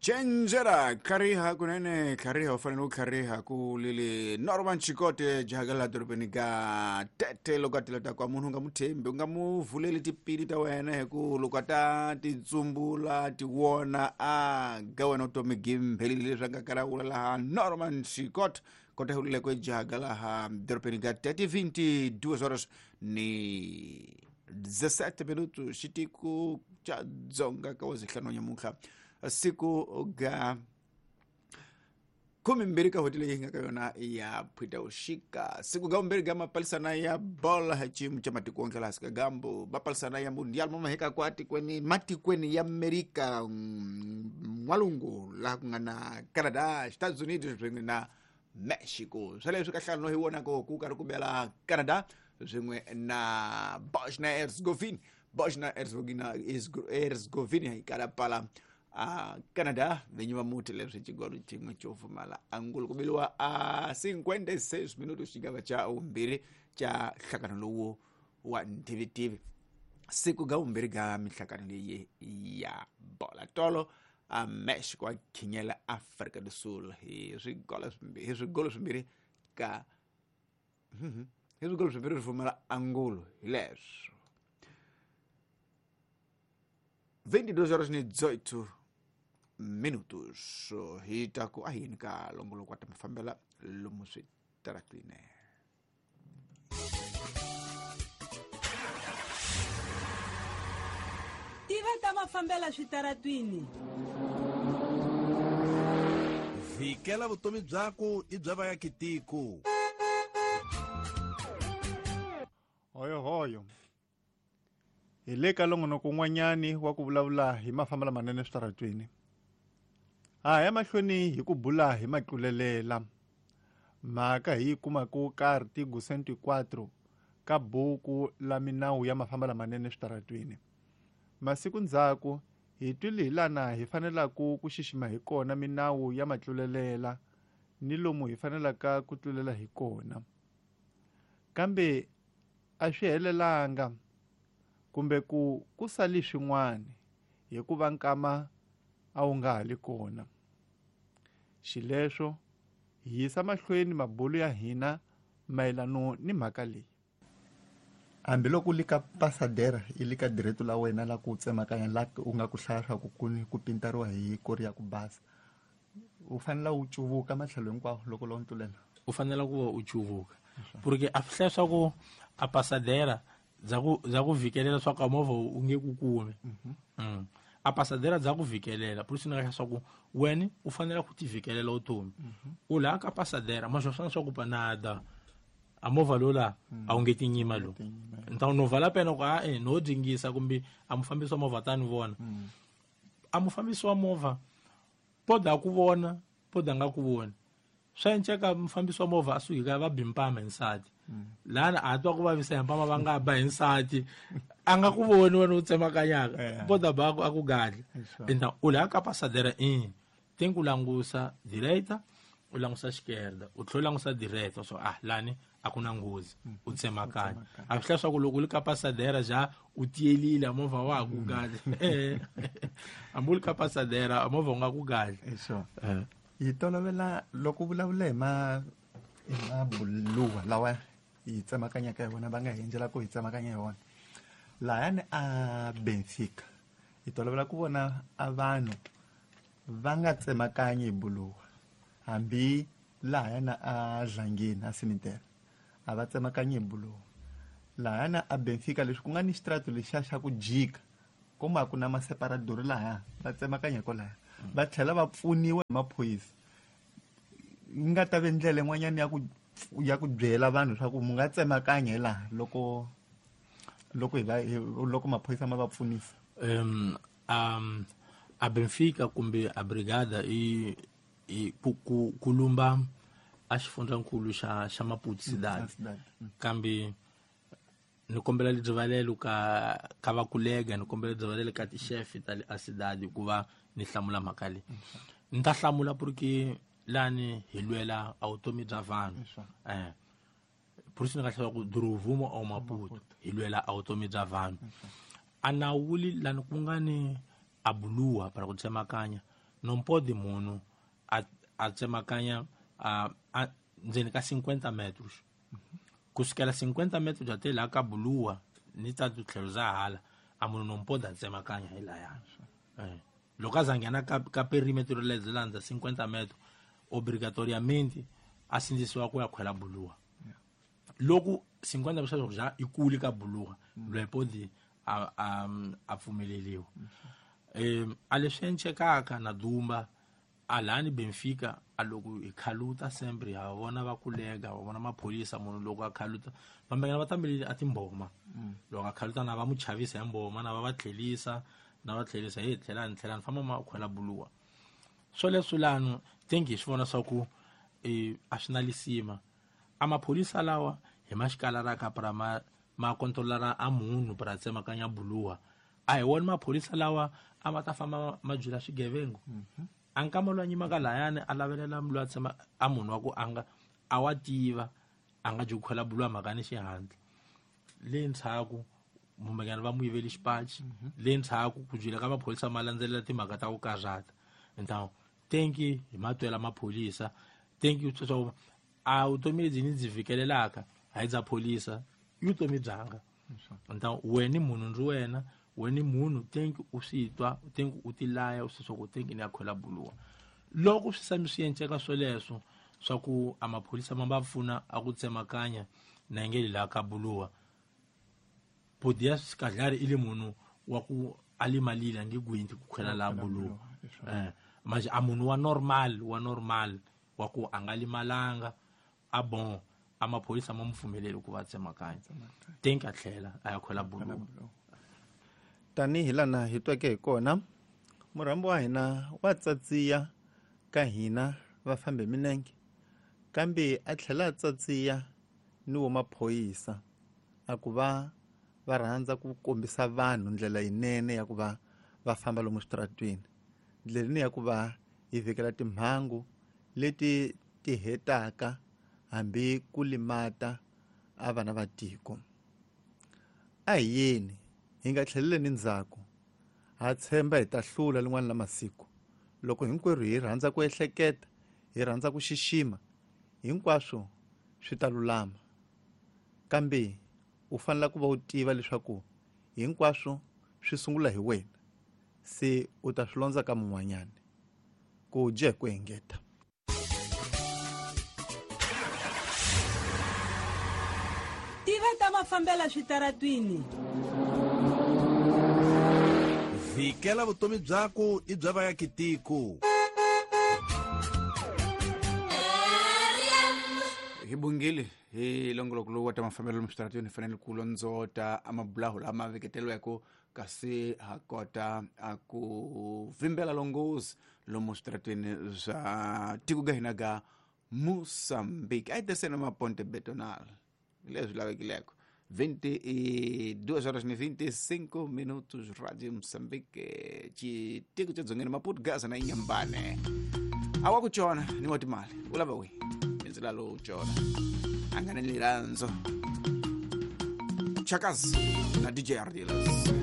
Cenjera tlhariha kunene tlhariha u fanele u tlhariha ku lili Norman Chikote jahaka laha dorobeni ka Tete loko a tila ta kwa munhu u nga mu thembi u nga mu vuleli tipili ta wena hi ku loko a ta ti tsumbula ti wona a ga wena vutomi gimbhelile leswi a nga karawula laha Norman Chikote kota hi ulile kwe jahaka laha dorobeni ka Tete 22 horas ni 17 minutos xitiko xa Dzonga ka wazihlanu nyamuntlha siku ga 12 ka hweti leyi nga ka yona ya Phutavuxika, siku ga vumbirhi ga mapalisana ya bola hi xiyimo xa matiko wonke laha ka gambu mapalisana ya mundial ma maheka kwa tikweni matikweni ya Amerika n'walungu laha ku nga na Canada, Estados Unidos swin'we na Mexico. Sweleswi ka nhlangano hi vonaka ku karhi ku bela Canada swin'we na Bosnia Herzegovina. Bosnia Herzegovina yi kala pala a Canada vinyi va muti leswi xigolo xin'we xo pfumala angulu ku biliwa a 56 minutos xigava xa vumbirhi xa nhlangano lowu wa ntivitivi siku ga vumbirhi ga minhlangano leyi ya bola tolo a Mexico a khinyela Afrika do Sul hi swigolo swimbirhi hi swigolo swimbirhi ka hi swigolo swimbirhi swi pfumala angulo hi leswo 22 horas ni 18 minutos hi ta ku a yini ka longoloko wa ta mafambela lomu switaratini. Tiva ta mafambela switaratwini. Vhikela vutomi byaku i bya vayakitiko. Hoyohoyo. Hi le ka nongonoko wun'wanyani wa ku vulavula hi mafamba lamanene eswitaratweni. Ha ya mahlweni hi ku bula hi matlulelela. Mhaka hi yi kumaka ka artigo 104 ka buku la minawu ya mafamba lamanene eswitaratweni. Masiku ndzhaku hi twile hi lana hi fanelaka ku xixima hi kona minawu ya matlulelela ni lomu hi fanelaka ku tlulela hi kona. Kambe a swi helelanga kumbe ku ku sali swin'wana hikuva nkama a wu nga ha li kona. Xileswo hi yisa mahlweni mabulu ya hina mayelano ni mhaka leyi. Hambiloko u li ka pasadera i li ka direto la wena la ku tsemakanya la u nga ku hlaya swa ku ku ku pintariwa hi kori ya ku basa, u fanele u cuvuka matlhelo hinkwawo loko lo ntlulela. U fanele ku va u cuvuka porque a swi hlaya swa ku a pasadera bya ku bya ku vhikelela swa ku a movha u nge ku kumi. A pasadera bya ku vhikelela por isso ni nga swa ku wena u fanele ku ti vhikelela vutomi. U laha ka pasadera ma swi swa ku panada a movha lowu laha a wu nge tinyima lowu ni ta no vala pena ku a e no dingisa kumbe a mufambisi wa movha ta ni vona. A mufambisi wa movha poda ku vona poda nga ku voni swa enceka mufambisi wa movha a suki ka va bi mpama hi nsati lana a twa ku vavisa hi mpama va nga ba hi nsati a nga ku voni wena u tsemakanyaka poda ba a ku gadla enta u laha ka pasadera i tem ku langusa direita u langusa esquerda u tlhela u langusa direita so ah lani a ku na nghozi u tsemakanya a swi hlaya swa ku loko u li ka pasadera ja u tiyelile a movha wa ha ku gadla hambi u li ka pasadera a movha u nga ku gadla. Hi tolovela loko u vulavula hi ma hi mabuluwa lawa hi tsemakanyaka hi wona va nga hi endlela ku hi tsemakanya hi wona lahayani a Benfica hi tolovela ku vona a vanhu va nga tsemakanyi hi buluwa hambi lahayana a Dlangeni a cemetery a va tsemakanyi hi buluwa lahayana a Benfica leswi ku nga ni xitrato lexiya xa ku jika kuma ku na maseparadori lahaya va tsemakanya kwalaya va tlhela va pfuniwa hi maphorisa yi nga ta ve ndlela yin'wanyana ya ku byela vanhu swa ku mu nga tsemakanya hi laha loko loko hi va loko maphorisa ma va pfunisa. A Benfica kumbe a brigada i i ku ku ku lumba a xifundzankulu xa xa Maputo Cidade. Kambe ni kombela rivalelo ka ka vakulega ni kombela rivalelo ka ti-chef ta le a cidade hikuva ni hlamula mhaka leyi. Ni ta hlamula porque lani hi lwela a vutomi bya vanhu. Por isso ni nga hlaya ku Duruvumo au Maputo hi lwela a vutomi bya vanhu. A nawuli lani ku nga ni a buluwa para ku tsemakanya. Não pode munhu a tsemakanya a ndzeni ka 50 metros. Kusukela 50 metros até lá ka buluwa ni ta tlhelo za hala a munhu não pode tsemakanya hi laya. Loko a za nghena ka perimetro lebyi landza 50 metros obrigatoriamente a sindzisiwa ku ya khwela buluwa. Loko 50 metros ja ikuli ka buluwa loyi podi a pfumeleliwa. A leswi encekaka na Dumba alani Benfica a loko hi khaluta sempre ha vona va kulega va vona maphorisa munhu loko a khaluta vambengana va tambeleli a timboma. Loko a khaluta na va mu chavisa hi mboma na va va tlhelisa na va tlhelisa hi tlhelani tlhelani famba ma khwela buluwa. Swoleswo lano tengi hi swi vona swa ku a swi na lisima. A maphorisa lawa hi maxikala ra ka pra ma kontrolara a munhu pra tsemakanya buluwa. A hi wona maphorisa lawa a ma ta famba ma jula swigevengo. A nkama loyi a nyimaka layani a lavelela loyi a tshama a munhu wa ku a nga a wa tiva a nga dyi ku khwela buluwa mhaka ni xihatla. Le ndzhaku mumbekana va mu yiveli xipachi. Le ndzhaku ku jula ka maphorisa ma landzelela timhaka ta ku karhata. Então tenki hi matwela maphorisa tenki leswaku a vutomi lebyi ni byi fikelelaka a hi bya pholisa i vutomi byanga. Então wena munhu ndzi wena wena munhu tenki u swi twa tenki u tilaya u swi swa ku tenki ni ya khwela buluwa. Loko swi sami swi enceka swoleswo swa ku a maphorisa ma va pfuna a ku tsemakanya na nge la ka buluwa podia skadlari ile munhu wa ku alimalile nge gwinti ku khwela la buluwa. Mas a munhu wa normal wa ku a nga limalanga a bon a maphorisa ma mu pfumeleli ku va tsemakanya tenki a tlhela a ya khwela buluwa. Tanihi lana hi tweke hi kona murhambi wa hina wa tsatsiya ka hina va fambe minenge kambe a tlhela a tsatsiya ni wo maphorisa a ku va va rhandza ku kombisa vanhu ndlela yinene ya ku va va famba lomu switaratweni, ndlela ya ku va hi vhikela timhangu leti ti hetaka hambi ku limata a vana va tiko. A hi yeni hi nga tlheleleni ndzhaku, ha tshemba hi ta hlula lin'wana la masiku loko hinkwerhu hi rhandza ku ehleketa, hi rhandza ku xixima, hinkwaswo swi ta lulama. Kambe u fanele ku va u tiva leswaku hinkwaswo swi sungula hi wena, se u ta swi londza ka mun'wanyana. Ku dya hi ku engeta. Tiva ta mafambela switaratwini. Vikela vutomi byaku i bya vayakitiko. Hi bungile hi longoloko lowu wa ta mafambelo lomu switaratwini hi fanele ku londzota amabulaho lama veketeriweke kasi ha kota a ku vimbela longhozi lomu switaratwini swa tiko ga hina ga Mozambique. A hi tirhiseni maponte betonal leswi lavekileko. 22 horas e 25 minutos, Rádio Moçambique, xitiko xa dzongeni Maputo, Gaza na Inhambane. A wa ku chona ni wa timali u lava wihi mindzila lowu chona a nga ni lirandzo Chakazi na DJ Ardilas.